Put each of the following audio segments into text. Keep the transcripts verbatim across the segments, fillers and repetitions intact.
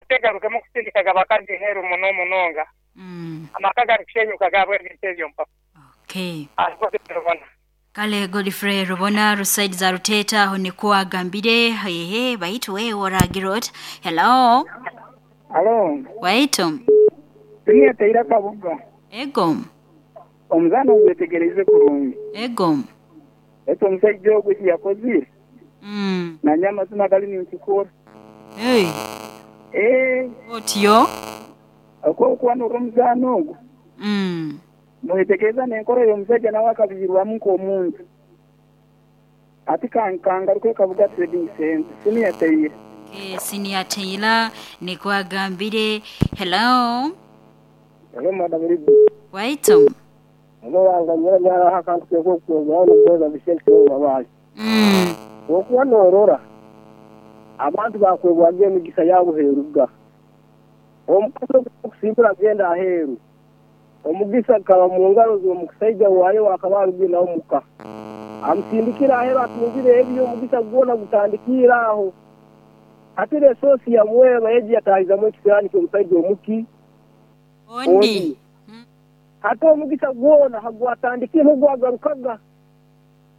Tegarukemu kusindikaga abakazi heru muno munonga. Mm. Amaka garikushenyuka gabwe ebintu ebyo mpa. Okay. Rubona. Kale Godfrey Rubona rusaidi za Ruteta aho niko agambire hehe baitu wewe oragira oti. Hello. Alo, Waitu. Siniya Taira Kabuga. Ego. Omuzaana ogwetegereze kurungi. Ego. Ete omusajja ogwo eki yakozire. Mm. Nanye amazima gali ninkikora. Hey. Eh, Otyo. okwokuba n'omuzaana ogwo. Mm. Noyetegereza n'enkora y'omusajja nawe akabihirwamu nk'omuntu. Ati kangaruke Kabuga Trading Center. Siniya Taira. Okay, Senior Taylor niko agambire. Hello. Hello, Madam Libu. Waitu. Hello, wanganyira nyara akantu keko kwogera n'okuweza bisente babaali. Mm. Okuba n'orora abantu bakwebwaga emigisa yabuheeruga. Omukazi okusimbura agenda aheeru. Omugisa gukaba mu ngaro z'omusaija waayo akaba arugire nawe muka. Amusindikira aheeru atungire ebyo omugisa gwona gutandikira aho. Hati resosi yamweba yeji yatahizamu ekisiraani ky'omusaija omuki. Ondi. Hati omugisa gwona hagwatandikire n'ogwagarukaga.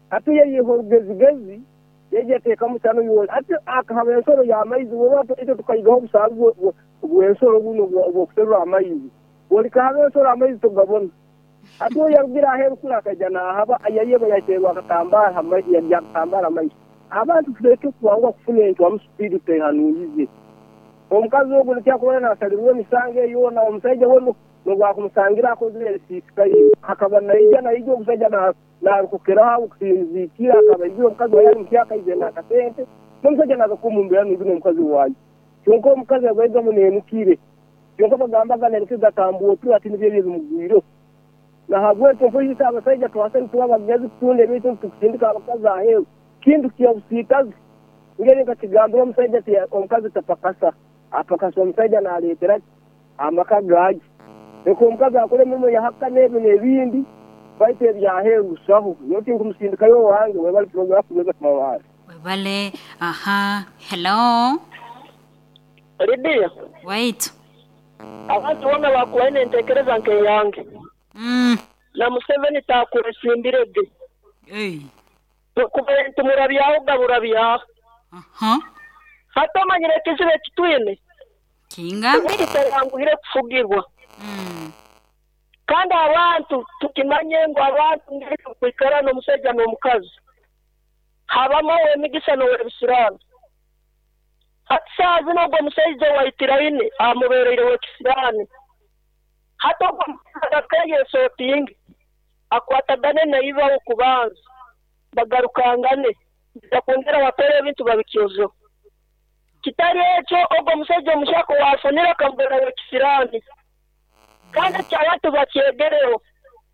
Hati yeyiha orugezigezi yeji yateekamu kyano yoona. Hati akahaba ensoro y'amaizi woba itwe tukayigaho obusaali bw'ensoro buno obw'okuserura amaizi. Olikahaba ensoro amaizi togabona. Hati oyo yarugira aheeru kuri akaija naahaba yayeba yateerwa akatambaara akatambaara amaizi. Abantu tuleke kubanguha kufuna entwamu sipiidi tutehanuuyize. Omukazi ogwo nikyakuba naasalirwa emisango eyoona omusaija we nobwakumusangira akozire ebisiisikaire. Akaba naija naija omusaija naarukukiraho okusinziikira akaba aizire omukazi waye ari mukyaka aizire n'akasente n'omusaija naaza kumumbera nugwi n'omukazi waaye. Kyonka omukazi yagwaigamu neenukire. Kyonka bagambaga neenukire gatambuutire ati nibyo ebyo ebimugwireho. Nahabwekyo mpoize abasaija twase nituba abagezi kutunda ebintu tukusindika abakazi aheeru. Kintu kyabusiikazi. Ngeri nkakigambira omusaija ati omukazi tapakasa. Apakasa omusaija naaleetera amaka gaagi. Leka omukazi akore emirimo yahaka n'ebyo n'ebindi baitu ebyaheeru busaho. Nyowe tinkumusindikayo owange webale program kuweza kumawaari. Webale. Aha. Hello. Lydia. Waitu. Abantu bona bakuwaine entekereza nk'eyange. Mm. Na Museveni takuresimbirege. Hey. Kuba tumurabyaho gaburabyaho. Aha. Hata omanyire ekizibu ekitwine. Kinga. Kitaranguhire kufugirwa. Mm. Kandi abantu tukimanye ngu abantu ngeri kwikara n'omusajja n'omukazi. Habamu emigisa n'owebisiraani. Hati saaha zino ogwo omusajja waitiraine amubeereire w'ekisiraani. Hati ogwo omukazi akeyesootinge akwatagane naibaho okubanza bagarukangane bakwongera batore ebintu babikyozeho. Kitari ekyo ogwo omusajja omushaka waafunire akamubeera w'ekisiraani. Kandi abantu bakyegereho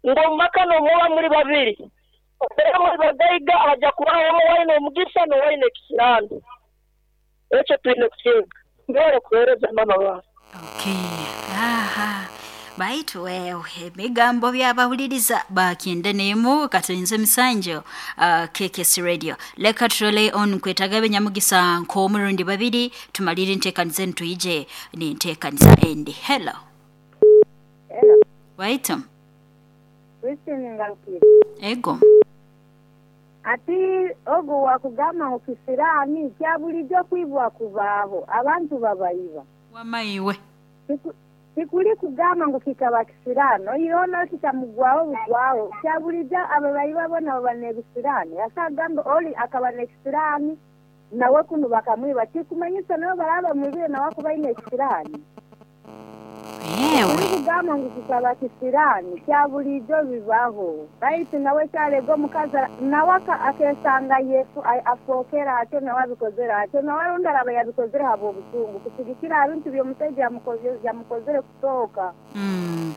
ngu omu maka n'omuba muri babiri. Obeera muri bagaiga hajja kubaho owaine omugisa n'owaine ekisiraani. Ekyo twine kukiga. Mbere kuheereza mama wange. Okay. Aha. Baitu wewe emigambo byabawuliriza bakyenda nemu katulinze emisanjo uh, K K S Radio. Leka turole on kwetaga benyamugisa nk'omurundi babiri tumalire enteekaniza enu tuyije n'enteekaniza endi. Hello. Hello. Waitu. Christine Ngarukire. Ego. Ati ogo wakugamba ngu kisiraani kya bulijjo kwibwa kubaaho abantu babayiba. Wamaiwe. Tikuli kugamba ngu kikaba kisiraani oyiroona kitamugwaho bugwaho kya bulijjo ababayiba bona baba n'ebisiraani. Akagamba oli akaba n'ekisiraani nawe kunu bakamwiba tikumanyisa nabo baraba bamwibire nawe akuba aine ekisiraani. Yewe. Kugamba ngu kikaba kisiraani kya bulijjo bibaho. Baitu nawe kyarega omukazi nawe akesanga Yesu afookera atyo nawe abikozere atyo nawe rundi araba yabikozere habw'obusungu kusigikira ebintu by'omusajja yamukozere kusooka. Mm.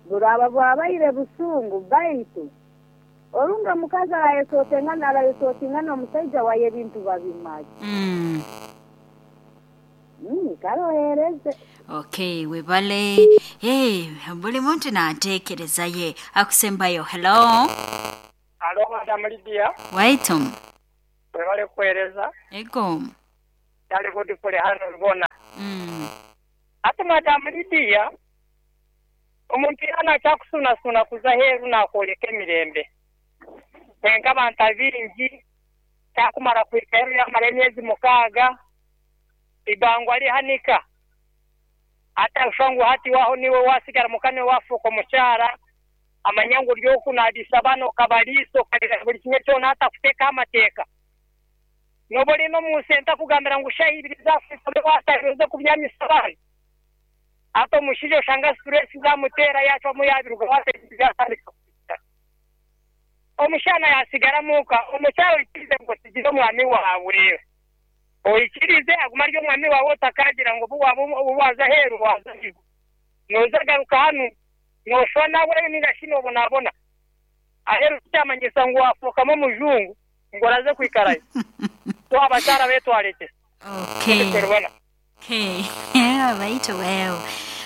Buraba bwabaire busungu baitu orunga omukazi arayesootingana arayesootingana omusajja waye ebintu babimaze. Mm. Mm, karohereze. Okay, webale. Hey, buli muntu n'anteekereza ye. Akusembayo. Hello. Alo, Madam Lydia. Waitu. Webale kuheereza. Ego. Dale godifule hano rubona. Mm. Ati madamu Lydia omuntu yana akyakusunasuna kuza heeru nakwoleka emirembe. Kwenka abantu abingi kyakumara kuhika heeru yamara emyezi mukaaga ibangwa lihanika. Ata ushangwa hati waho niwe wasigara mukane wafuuka omukyara amanya ngu ryokunadisa bano kabaliso kalira buli kimwe kyona atakuteeka amateeka. Noba ori n'omunsi entakugambira ngu shahi ibiri zafuuka wasabize kubyamisa abaana. Ata omushaija oshanga stress zamuteera yacwamu yabiruga waatandika. Omushana yasigara muka omukyaro oikirize ngu osigire omwami waawe. Oikirize aguma ari omwami waawe otakagira ngu obu waaba obu waza aheeru waza aheeru. Nooza garuka hanu nooshwa nawe ninga shi noobonabona. Aheeru kyamanyisa ngu wafuukamu omujungu ngu oraze kwikarayo. So abakyara betwarete. Okay. Okay. Baitu wewe.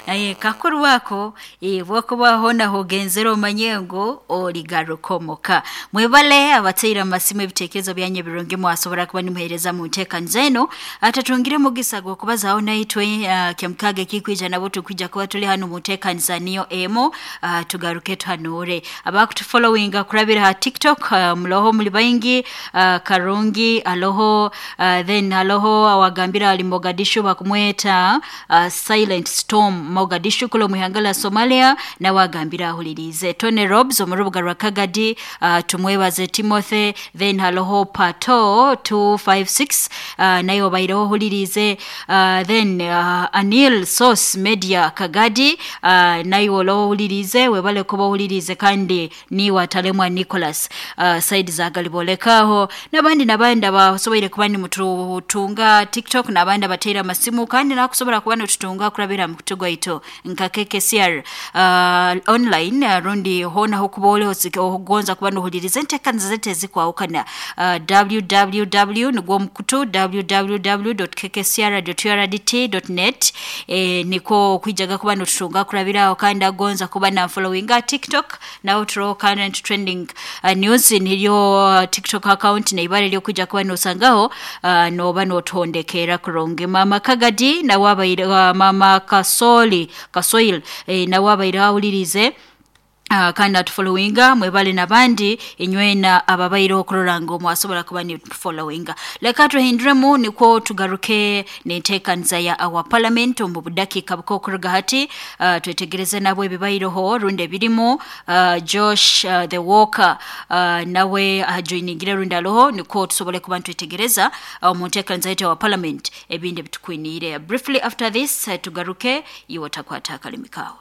Aye kakuru wako e, bwokuba hona hogenzera omanye ngu oligarukomoka. Mwebale abateera amasimu ebitekerezo byanye birungi mwasobora kuba nimuhereza mu nteekaniza eno atatungire mugisa gw'okubazaaho naitwe uh, kyamukaaga ekikwija nabo tukwija kuba tuli hano mu nteekaniza niyo emu uh, tugaruke tuhanure. Abakutufollowinga kurabira ha TikTok uh, muloho muli baingi uh, Karungi aloho uh, then aloho awagambira ali Mogadishu bakumweta uh, Silent Storm Mogadishu kulo muhangala Somalia na wagambira ahulirize Tony Robs omurubuga rwa Kagadi uh, tumwebaze Timothy then haloho Pato two five six uh, nayo baireho hulirize uh, then uh, Anil Source Media Kagadi uh, nayo loho hulirize webale kuba hulirize kandi ni watalemwa Nicholas uh, side za galibolekaho nabandi nabandi abasoboire kuba ni mututunga TikTok nabandi abateera amasimu kandi nakusobola kuba nitutunga kurabira mu kutugo ito nka K K C R uh, online uh, rundi hona hokuba ogonza kuba nohuliriza enteekaniza zete ezikwawukana uh, www nigwo mukutu www dot k k c r dot u r d t dot net e, niko kwijaga kuba notutunga kurabiraho kandi agonza kuba na followinga TikTok naho turo current trending uh, news niryo uh, TikTok account neibare ryo kwijja kuba nosangaho uh, noba notondekera kurungi. Mama Kagadi nawe abaire uh, mama Kasoli Kasoil e, nawe abaire ahulirize Uh, kandi atufollowinga mwebale nabandi inywena ababaire okurora ngo mwasobola kuba ni followinga. Leka tuhinduremu nikwo tugaruke n'enteekaniza ya our parliament omu budakika bukokuruga hati uh, twetegereze nabo ebibaireho rundi ebirimu uh, Josh uh, the Walker uh, nawe ajoiningire rundi aloho nikwo tusobole kuba nitwetegereza uh, mu nteekaniza yaitu our parliament ebindi ebitukwiniire. Briefly after this uh, tugaruke iwe takwata akalimi kawe.